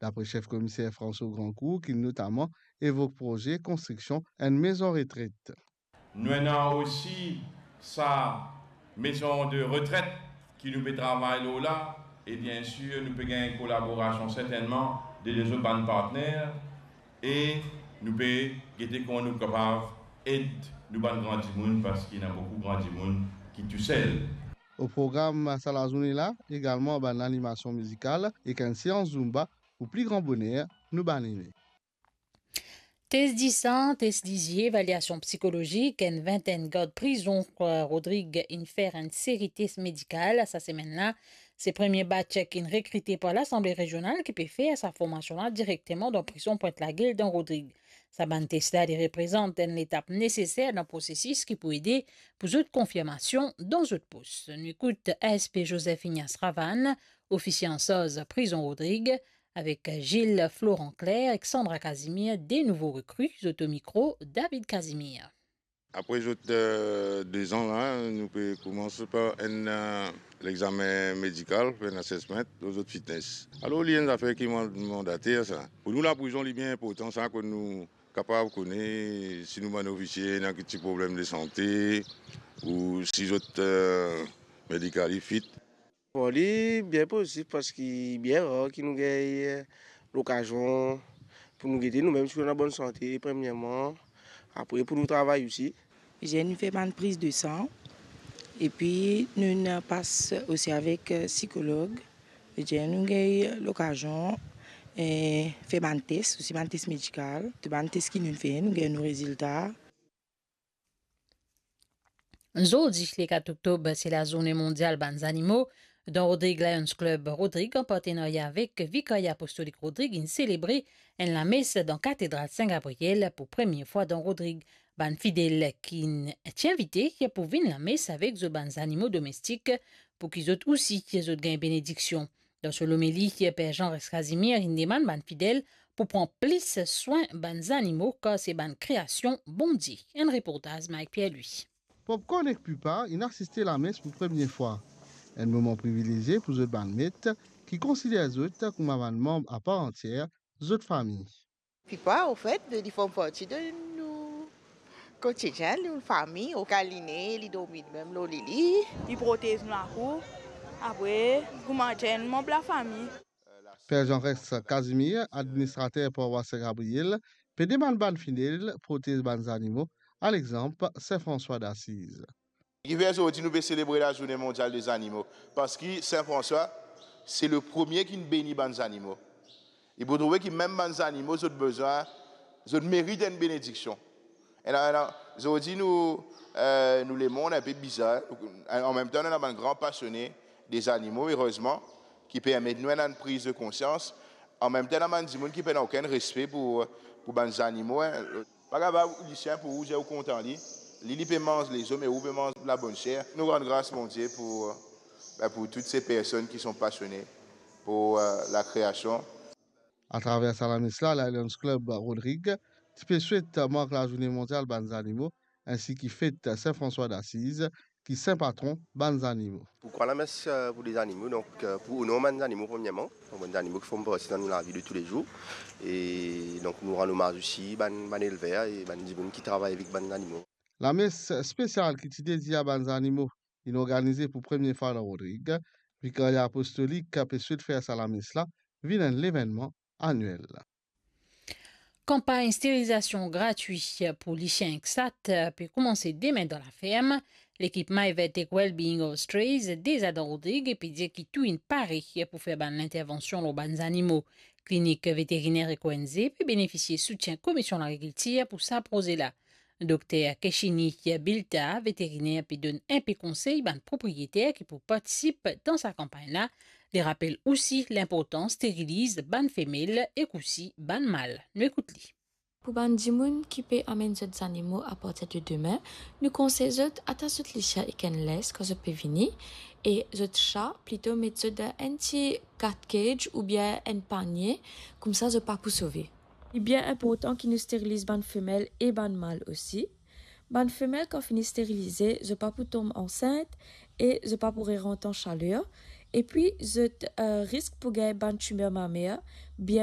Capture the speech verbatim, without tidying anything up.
Dapre sef komiser François Grandcourt, ki notaman evok proze konstriksion enn mezon retret. Nou ena osi sa mezon de retret ki nou pe travay lor la, e biensir nou pe gagn kolaborasion sertennman de lezot bann partner, e nou pe gete kouma nou kapav ed nou bann gran dimoun, parski ena boukou gran dimoun ki tousel. O program sa lazourne la, egalman bann animasion mizikal ek enn seans Zumba pou pli gran boner nou bann ene. Tes disan, tes dizie, evalyasion psikolozik, enn vintenn gard prizon, eh, Rodrig inn fer enn seri tes medikal sa semenn la. Se premie batch ki inn rekrite par Lasanble Rezional ki pe fer sa formasion la direkteman dan prizon Pwint Lagil dan Rodrig. Sa bann tes la, li reprezant enn letap neseser dan prosesis ki pou ede pou zot konfirmasion dan zot pos. Nou ekout A S P Joseph Ignace Ravane, ofisie ansarz prizon Rodrig, avek Gilles Florent Claire ek Sandra Casimir, de nouvo rekri, zot o mikro David Casimir. Apre zot, eh, dezan la, nou pe koumans par enn, eh, lexame medikal, enn assessment lor zot fitness. Alor, li enn zafer ki mand-, mandater sa. Pou nou, laprizon, li bien inportan sa, kot nou kapav kone si nou bann ofisie ena ki ti problem de sante, ou si zot, eh, medikali fit. Bon, li bien pozitif parski bien rar ki nou gagn lokazion pou nou gete noumem si nou an bonn sante, premierman, apre pou nou travay osi. Zenn fer bann priz de san, epi nou ena pas osi avek, eh, sikolog. Zenn nou gagn lokazion, eh, fer bann tes, osi bann tes medikal. Tou bann tes ki nou fer, nou gagn nou rezilta. Zordi, le kat oktob, se lazourne mondial bann zanimo. Dan Rodrig Lions Club Rodrig, an partenarya avek Vikarya Apostolik Rodrig, inn selebre enn lames dan Katedral Sin Gabriel pou premie fwa dan Rodrig. Bann fidel ki ti invite pou vinn lames avek zot bann zanimo domestik, pou ki zot osi, zot gagn benediksion. Dan so lomeli, Per Jean Rex Casimir inn demann bann fidel pou pran plis swin bann zanimo, kar se bann kreasion Bondie. Enn reportaz Mike Pierre-Louis. Popcorn ek Pupa inn asiste lames pou premie fwa. Enn moman privilezie pou zot bann met, ki konsider zot kouma bann manb apar antier zot fami. Pupa, anfet, li form parti de nou kotidien, nou fami, ou kaline, li dormi mem lor lili. Li protez nou lakour, apre, kouma enn manb lafami. Per Jean Rex Casimir, administrater parwas Sin Gabriel, pe demann bann fidel protez bann zanimo, a lexanp Sin Franswa Dasiz. Kifer zordi nou pe selebre lazourne mondial de zanimo? Parski Sin Franswa, se le premie ki'nn beni bann zanimo. Li pou trouve ki mem bann zanimo, zot bizin, zot merit enn benediksion. Ena, ena, zordi nou, eh, nou lemond inpe bizar. An mem tan, nou ena bann gran pasione de zanimo, erezman, ki permet nou ena enn priz de konsians. An mem tan, ena bann dimoun ki pena okenn respe pou, pou bann zanimo, en. Pa kapav, lisien pou ou, ou kontan li. Li, li pe manz lezom e ou pe manz labonn ser. Nou rann gras Bondie pou, ben, pou tou se personn ki son pasione pou, eh, lakreasion. Atraver sa lames la, Lions Club Rodrig ti pe swet mark lazourne mondial bann zanimo, ensi ki fet Sin Franswa Dasiz, ki sin patron bann zanimo. Pou krwar lames, eh, pou lezanimo, donk, eh, pou onor bann zanimo premierman, bann zanimo ki form parti dan nou lavi de toulezour, e donk nou rann omaz osi bann, bann elver e bann dimoun ki travay avek bann zanimo. Lames spesial ki ti dedie a bann zanimo inn organize pou premie fwa dan Rodrig. Vikarya Apostolik pe swet fer sa lames la vinn enn levennman aniel. Kanpagn sterilizasion gratwi pou lisien ek sat pe koumanse demin dan laferm. Lekip My Vet ek Wellbeing of Strays deza dan Rodrig e pe dir ki tou inn pare pou fer bann lintervansion lor bann zanimo. Klinik veteriner ek O N G pe benefisie soutien Komisyon Lagrikiltir pou sa proze la. Dokter Keshini Bilta, veteriner, pe donn inpe konsey bann propriyeter ki pou partisip dan sa kanpagn la. Li rapel osi linportans steriliz bann femel ek osi bann mal. Nou ekout li. Pou bann dimoun ki pe amenn zot zanimo apartir de demin, nou konsey zot atas zot lisien ek enn lens kan zot pe vini, e zot sa plito met zot dan enn ti cat cage oubien enn panie, koumsa zot pa pou sove. Li bien inportan ki nou steriliz bann femel e bann mal osi. Bann femel kan fini sterilize, zot pa pou tom ansint e zot pa pou rerant an saler. Epi zot, eh, risk pou gagn bann timer mamer